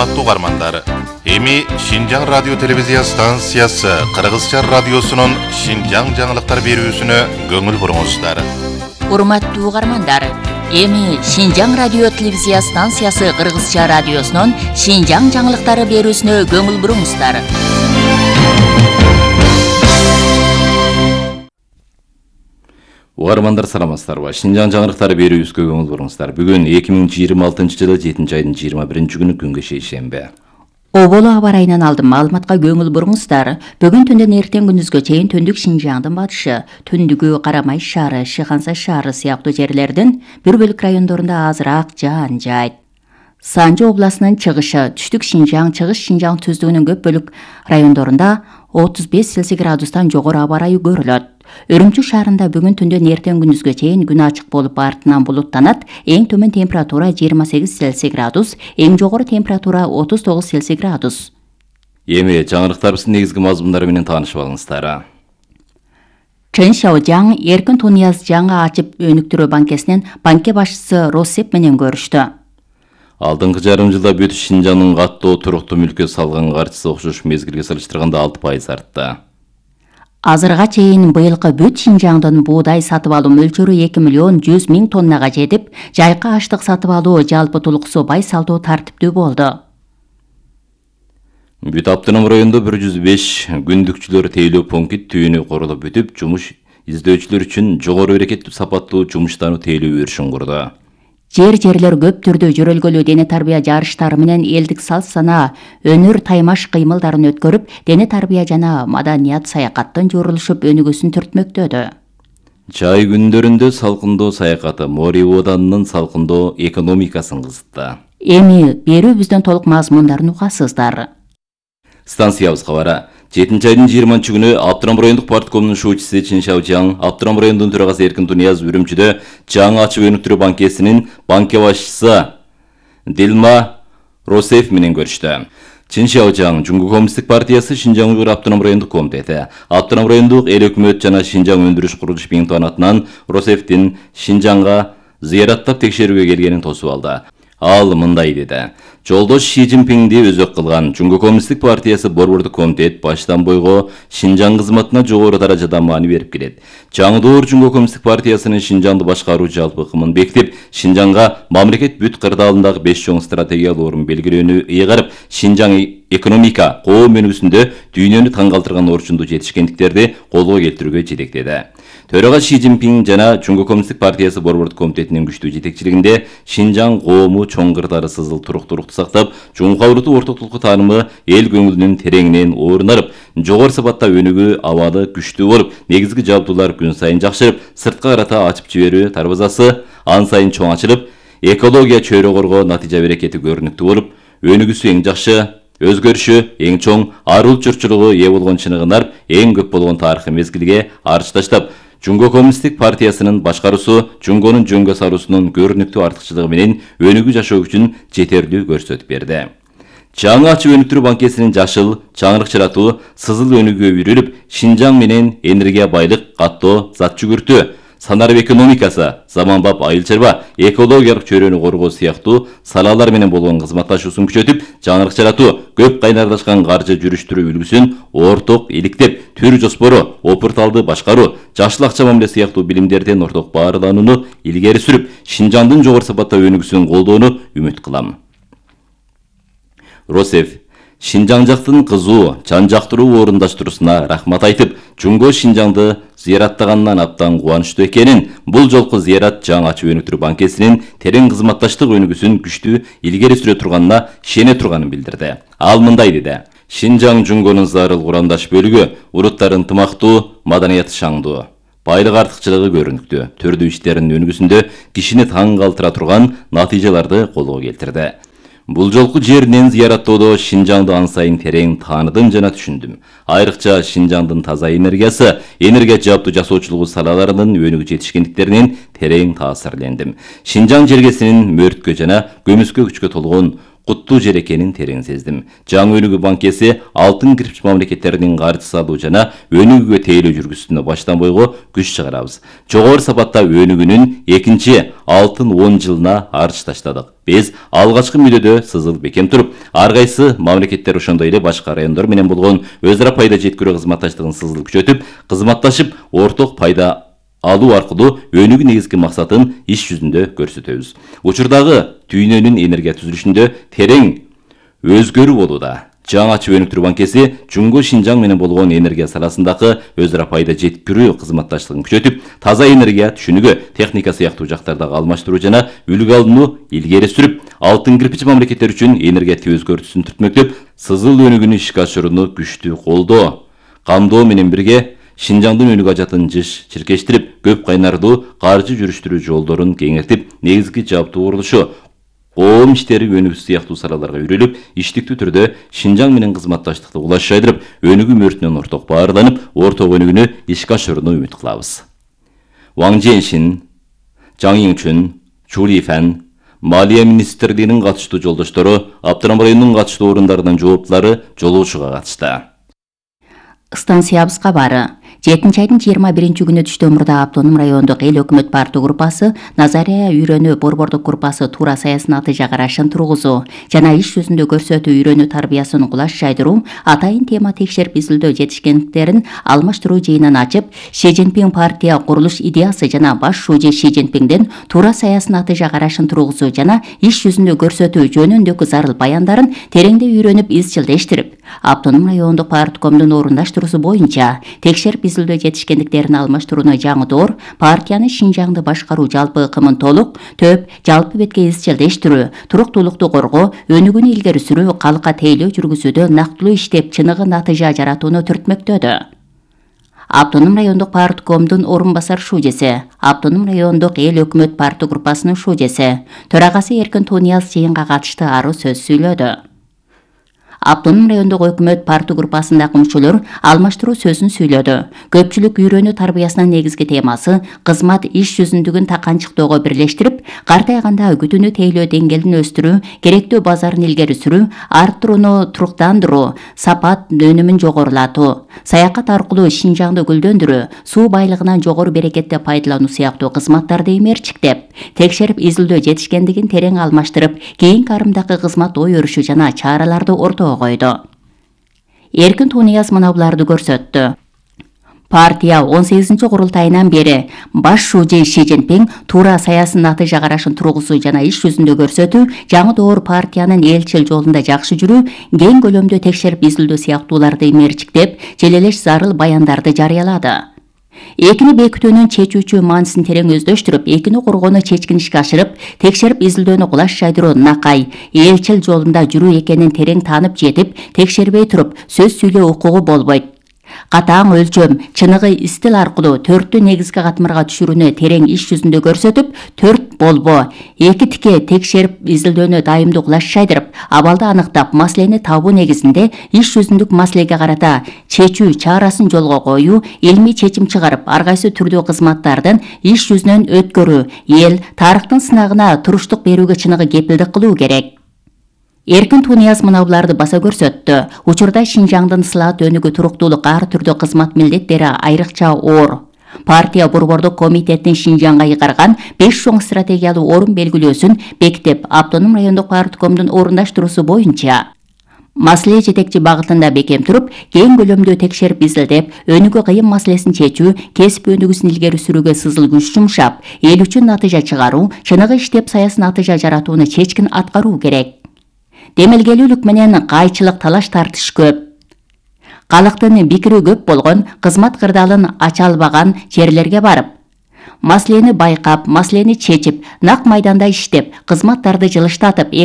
Урматтуу угармандар, эми Шинжаң радио телевизия станциясы Кыргызча радиосунун Шинжаң жаңылыктар берүүсүнө көңүл буруңуздар. Урматтуу угармандар, эми Шинжаң радио телевизия станциясы Кыргызча радиосунун Шинжаң жаңылыктары берүүсүнө көңүл буруңуздар. Угармандар саламатсыздарбы? Шинжаң жаңылыктары берүүбүзгө көңүл буруңуздар. Бүгүн 2026-жылы 7-айдын 21-күнү күнгө шейшемби. Оболу аба ырайынан алдым маалыматка көңүл буруңуздар. Бүгүн түндөн эртең күндүзгө чейин түндүк Шинжаңдын батышы, түндүгү Карамай шаары, Шыханса шаары сыяктуу жерлердин бир бөлүк райондорунда азыраак жаан жаайт. Санжы областынын чыгышы, түштүк Шинжаң, чыгыш Шинжаң түздүгүнүн көп бөлүк райондорунда 35 Цельсий градустан жогору аба ырайы көрүлөт. Өрүмчү шаарында бүгүн түндөн эртең күндүзгө чейин күн ачык болуп артынан булуттанат. Эң төмөн температура 28 Цельсий градус, эң жогору температура 39 Цельсий градус. Эми жаңылыктарыбыздын негизги мазмундары менен таанышып алыңыздар. Чен Шаожаң эркин Тунияз жаңы ачып өнүктүрүү банкесинен банке башчысы Росеп менен көрүштү. Алдыңкы жарым жылда бүт Шинжаңдын каттоо туруктуу мүлккө салган каржысы окшош мезгилге салыштырганда 6% артты. Азырга чейин быйылкы бүт Шинжаңдын буудай сатып алуу мөлчөрү 2 миллион 100 миң тоннага жетип, жайкы аштык сатып алуу жалпы тулуксу бай салдоо тартиптүү болду. Бүт автоном районунда 105 күндүкчүлөр тейлөө пункт түйүнү корулуп бүтүп, жумуш издөөчүлөр үчүн жогору берекеттүү сапаттуу жумуштарды тейлөө өрүшүн курду. Жерлер көп түрдө жөрөлгөлүү дене тарбия жарыштары менен элдик салт санаа, өнөр таймаш кыймылдарын өткөрүп, дене тарбия жана маданият саякаттын журулушуп өнүгүүсүн түртмөктөдү. Чай күндөрүндө салкындоо саякаты Мори Оданынын салкындоо экономикасын кызытты. Эми берүүбүздөн толук мазмундарын угасыздар. Станциябызга бара. 7-айдын 20-күнү Абдырам райондук парткомунун шуучусу Чен Шаожаң, Абдырам районунун төрагасы Эркин Тунияз Үрүмчүдө жаңы ачып өнүктүрүү банкесинин банке башчысы Дилма Росев менен көрүштү. Чен Шаожаң Жуңгу коммунисттик партиясы Шинжаң Уйгур Абдырам райондук комитети, Абдырам райондук эл өкмөт жана Шинжаң өндүрүш курулуш биңтуан атынан Росевдин Шинжаңга зыяраттап текшерүүгө келгенин тосуп алды. Ал мындай деди: Жолдош Ши Цзиньпинди өзөк кылган Жуңгу коммунисттик партиясы борбордук комитет баштан бойго Шинжаң кызматына жогору даражада маани берип келет. Жаңы Жуңгу коммунисттик партиясынын Шинжаңды башкаруу жалпы ыкымын бекитип, Шинжаңга мамлекет бүт кырдаалындагы 5 чоң стратегиялык орун белгилөөнү ыйгарып, Шинжаң экономика, коом өнүгүүсүндө дүйнөнү таң калтырган орчундуу жетишкендиктерди колго келтирүүгө жетектеди. Төрага Ши Цзиньпин жана Жуңгу коммунисттик партиясы борбордук комитетинин күчтүү жетекчилигинде Шинжаң коому чоң кырдаары сызыл туруктуулукту сактап, жумгаврутуу ортоктулукку таанымы эл көңүлүнүн тереңинен орун алып, жогору сапатта өнүгүү абалы күчтүү болуп, негизги жабдуулар күн сайын жакшырып, сыртка карата ачып жиберүү дарбазасы ан сайын чоң ачылып, экология чөйрө коргоо натыйжа берекети көрүнүктүү болуп, өнүгүүсү эң жакшы, өзгөрүшү эң чоң, арыл чурчулугу ээ болгон чыныгынар эң көп болгон тарыхый мезгилге арчы таштап, Жуңгу коммунисттик партиясынын башкаруусу Жуңгонун жөнгө саруусунун көрүнүктүү артыкчылыгы менен өнүгүү жашоо үчүн жетерлүү көрсөтүп берди. Жаңы ачып өнүктүрүү банкесинин жашыл, чаңырык чыратуу, сызыл өнүгүүгө үйрүлүп, Шинжаң менен энергия байлык, каттоо, зат жүгүртүү, санарып экономикасы, заманбап айыл чарба, экологиялык чөйрөнү коргоо сыяктуу салалар менен болгон кызматташуусун күчөтүп, чаңырык чыратуу, көп кайнарлашкан каржы жүрүштүрүү үлгүсүн орток иликтеп, түр жоспору, опурталды башкаруу, жашыл акча мамиле сыяктуу билимдерден орток баарланууну илгери сүрүп, Шинжаңдын жогору сапатта өнүгүүсүн колдоону үмүт кылам. Росев Шинжаң жактын кызуу, жан жактыруу орундаштыруусуна рахмат айтып, Жуңгу Шинжаңды зыяраттаганынан абдан кубанычтуу экенин, бул жолку зыярат жаңы ачып өнүктүрүү банкесинин терең кызматташтык өнүгүүсүн күчтүү илгери сүрө турганына ишене турганын билдирди. Ал мындай деди: Шинжаң Жуңгонун зарыл курамдаш бөлүгү, уруттар ынтымактуу, маданияты шаңдуу, байлык артыкчылыгы көрүнүктүү, түрдүү иштеринин өнүгүүсүндө кишини таң калтыра турган натыйжаларды колго келтирди. Бул жолку жеринен зыяраттоодо Шинжаңды ан сайын терең тааныдым жана түшүндүм. Айрыкча Шинжаңдын таза энергиясы, энергия жабдуу жасоочулугу салаларынын өнүгүп жетишкендиктеринен терең таасирлендим. Шинжаң жергесинин мөрткө жана көмүскө күчкө толгон куттуу жер экенин терең сездим. Жаңы өнүгүү банкеси алтын кирпич мамлекеттеринин каржы салуу жана өнүгүүгө тейлөө жүргүзүүсүнө баштан бойго күч чыгарабыз. Жогору сапатта өнүгүүнүн экинчи алтын 10 жылына арч таштадык. Биз алгачкы мүддөдө сызылып бекем туруп, ар кайсы мамлекеттер ошондой эле башка райондор менен болгон өз ара пайда жеткирүү кызматташтыгын сызылып күчөтүп, кызматташып, орток пайда алуу аркылуу өнүгүү негизги максатын иш жүзүндө көрсөтөбүз. Учурдагы дүйнөнүн энергия түзүлүшүндө терең өзгөрүү болууда. Жаңы ачып өнүктүрүү банкеси Жуңго Шинжаң менен болгон энергия саласындагы өз ара пайда жеткирүү кызматташтыгын күчөтүп, таза энергия түшүнүгү, техника сыяктуу жактардагы алмаштыруу жана үлгү алууну илгери сүрүп, алтын кирпич мамлекеттер үчүн энергетик өзгөртүүсүн түртмөктөп, сызыл өнүгүүнү ишке ашырууну күчтүү колдоо, камдоо менен бирге Шинжаңдын өнүгүү ажатын чиркештирип, көп кайнардуу каржы жүрүштүрүү жолдорун кеңейтип, негизги жаптуу курулушу, коом иштери өнүгүүсү сыяктуу салаларга үйрөлүп, иштиктүү түрдө Шинжаң менен кызматташтыкты улаш жайдырып, өнүгүү мөртүнөн орток баарланып, орток өнүгүүнү ишке ашырууну үмүт кылабыз. Ваң Женшин, Жаң Юңчун, Чу Лифан, Малия министрлигинин катыштуу жолдоштору, Аптырам районунун катыштуу орундарынын жооптулары жолугушууга катышты. Станциябыз кабары. 7-айдын 21 күнү түштөмүрдө Автоном райондук эл өкмөт партия группасы Назария үйрөнүү борбордук группасы туура саясаты карашын тургузуу жана иш жүзүндө көрсөтүү үйрөнүү тарбиясын кулаш жайдыруу атайын тема текшерип изилдөө жетишкендиктерин алмаштыруу жыйынын ачып, Ши Цзиньпин партия курулуш идеясы жана баш шүүжө Ши Цзиньпиндин туура саясаты карашын тургузуу жана иш жүзүндө көрсөтүү жөнүндөгү зарыл баяндарын тереңдей үйрөнүп изчилдештирип, Автоном райондук парткомдун орундаштыруусу боюнча текшерип изилдөө жетишкендиктерин алмаштырууну жаңыдоор партияны Шинжаңды башкаруу жалпы ыкымын толук, төп, жалпы бетке изчилдештирүү, туруктуулукту коргоо, өнүгүүнү илгери сүрүү, калкка тейлөө жүргүзүүдө нактылуу иштеп чыныгы натыйжа жаратууну түртмөктөдү. Автоном райондук парткомдун орун басар шүүжеси, Автоном райондук эл өкмөт партия группасынын шүүжеси, төрагасы Эркин Тунияз жыйынга катышты ары сөз сүйлөдү. Автоном райондук өкмөт партия группасындагы мүчөлөр алмаштыруу сөзүн сүйлөдү. Көпчүлүк үйрөнүү тарбиясынын негизги темасы кызмат иш жүзүндүгүн таканчыктоого бирлештирип, картайганда күтүүнү тейлөө деңгээлин өстүрүү, керектүү базарын илгери сүрүү, арттырууну туруктандыруу, сапат өнүмүн жогорулатуу, саякат аркылуу Шинжаңды гүлдөндүрүү, суу байлыгынан жогору берекетте пайдалануу сыяктуу кызматтарды эмерчиктеп, текшерип изилдөө жетишкендигин терең алмаштырып, кийинки арымдагы кызмат ой өрүшү жана чараларды ортого койду. Эркин Тунияз мына буларды көрсөттү. Партия 18 курултайынан бери баш шүүжө Ши Цзиньпин туура саясий натыйжа карашын тургузуу жана иш жүзүндө көрсөтүү, жаңы доор партиянын элчил жолунда жакшы жүрүү, кең көлөмдө текшерип изилдөө сыяктууларды эмерчиктеп, желелеш зарыл баяндарды жарыялады. Экини бекитүүнүн чечүүчү маанисин терең өздөштүрүп, экини коргоону чечкин ишке ашырып, текшерип изилдөөнү кулаш жайдыруу накай, элчил жолунда жүрүү экенин терең таанып жетип, текшербей туруп, сөз сүйлөө укугу болбойт. Катаң өлчөм, чыныгы стил аркылуу 4 негизги катмарга түшүрүүнү терең иш жүзүндө көрсөтүп, 4 болбо, 2 тике текшерип изилдөөнү дайымдуу кулаш жайдырып, абалды аныктап, маселени табуу негизинде иш жүзүндүк маселеге карата чечүү чарасын жолго коюу, илмий чечим чыгарып, ар кайсы түрдүү кызматтардын иш жүзүнөн өткөрүү, эл тарыхтын сынагына туруштук берүүгө чыныгы кепилдик кылуу керек. Эркин Тунияз мына буларды баса көрсөттү. Учурда Шинжаңдын сылаат өнүгүү туруктуулук ар түрдүү кызмат милдеттери айрыкча оор. Партия борбордук комитеттин Шинжаңга ыйгарган 5 чоң стратегиялуу орун белгилөөсүн бекитип, Автоном райондук парткомдун орундаштыруусу боюнча маселе жетекчи багытында бекем туруп, кең көлөмдүү текшерип изилдеп, өнүгүү кыйын маселесин чечүү, кесип өнүгүүсүн илгери сүрүүгө сызыл күч жумшап, эл үчүн натыйжа чыгаруу, чыныгы иштеп саясий натыйжа жаратууну чечкин аткаруу керек. Демелгелүүлүк менен кайчылык талаш тартыш көп. Калктын пикири көп болгон, кызмат кырдаалын ача албаган жерлерге барып, маселени байкап, маселени чечип, нак майданда иштеп, кызматтарды жылыштатып,